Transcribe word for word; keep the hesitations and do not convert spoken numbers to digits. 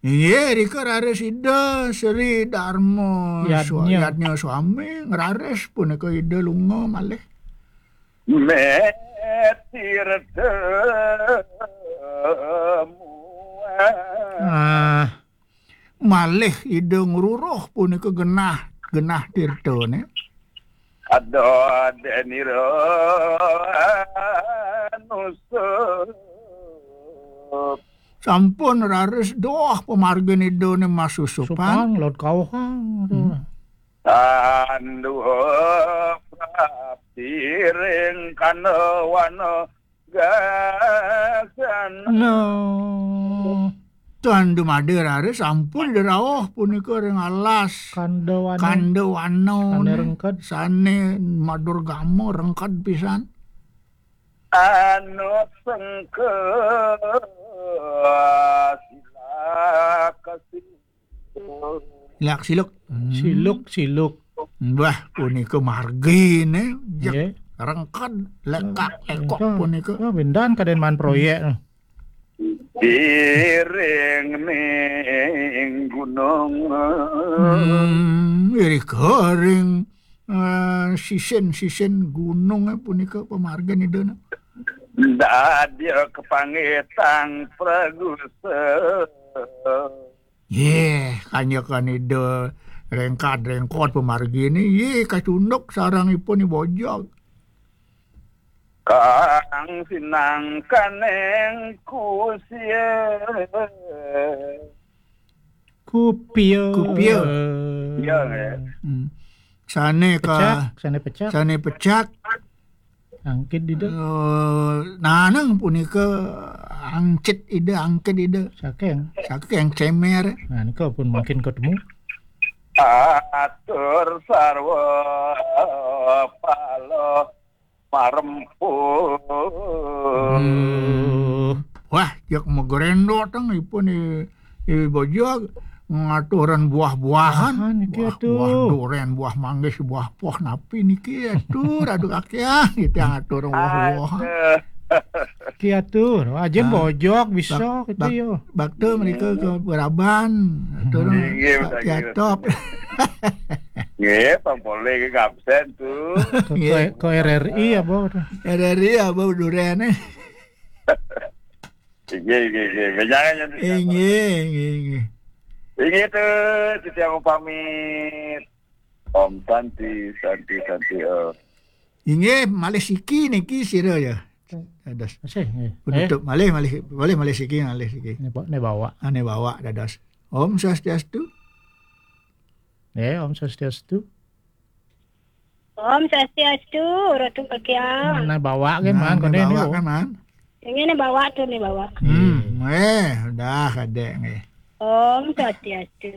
Inggih, rika raris Ida Sri Darma Yadnya. Swa-, Yadnya Swami, raris punika Ida lunga malih. Metirta muat. Ah, malih Ida ngruruh punika genah, genah tirtane. Ada denira nusup. Sampun raris doh pamargin Ida ne masusupan. Supan, laut kauhang. Hmm. Tanduh prapti ring kanda wana gasan. No. Tan dumadi raris sampun Ida rauh punika ring alas. Kandawana. Kandawana. Sane rengked. Sane madurgama rengked pisan. Anu sengke silaka siluk. Silak siluk. Hmm. Siluk, siluk. Wah, punika margine, jeg. Nggih. Rengked, lekak, lekok. Nggih. Punika. Ya, bendan kaden man proyek. Iring ning gunung. Hmm, irika ring, eh, sisin-sisin gunung, eh, punika pamargin Ida ne. Dadya kapanggih tang pragusa. Yeh, kanyekan Ida rengkad-rengkod pamargine, yeh, kacunduk sareng ipun I Bojog. Kang sinangkaning kusia. Kupia. Kupia. Iya, nggih. Hmm. Sane ka-, pecak, sane pecak. Sane pecak. Angkit Ida. Eh, nanang punika angcit Ida, angkit Ida. Saking. Saking cemer. Nah, nika pun mungkin ketemu. Atur sarwa pala marempuh. Hmm. Wah, jak magrendotang ipun I, I Bojog ngaturan buah-buahan. Buahan niki, buah, aduh. Buah duren, buah manggis, buah poh, napi niki, aduh, aduh kakian, kita ngatur buah-buahan. Aduh. Ki atur, ajin. Ah, Bojog bisa bak-, gitu bak-, yo. Bakta mereka ke Beraban, atur. Inggih, Pak, betul, Ki Atop. Nggih, Pak Polri ke absen tuh. Ke, nggih. Ke, ke R R I apa tuh? R R I apa duren, eh? Inggih, inggih, inggih. Jangan, jangan. Inggih, inggih, inggih. Inggih tuh, titiang pamit. Om Santi, Santi, Santi, Om. Inggih, malih siki niki sira ya. Dados. Masih, nggih. Penutup. Eh? Malih, malih, malih, malih siki, malih siki. Ne ba-, ne bawa. Ah, ne bawa dados. Om Swastiastu. Eh, Om Swastiastu. Om Swastiastu, Ratu Kakiang. Ne bawa ke, nah, man, ne kode bawa ni, oh. Kan, man? Ini ne bawa tuh, ne bawa. Hmm, eh, dah ada nggih. Om Swastiastu.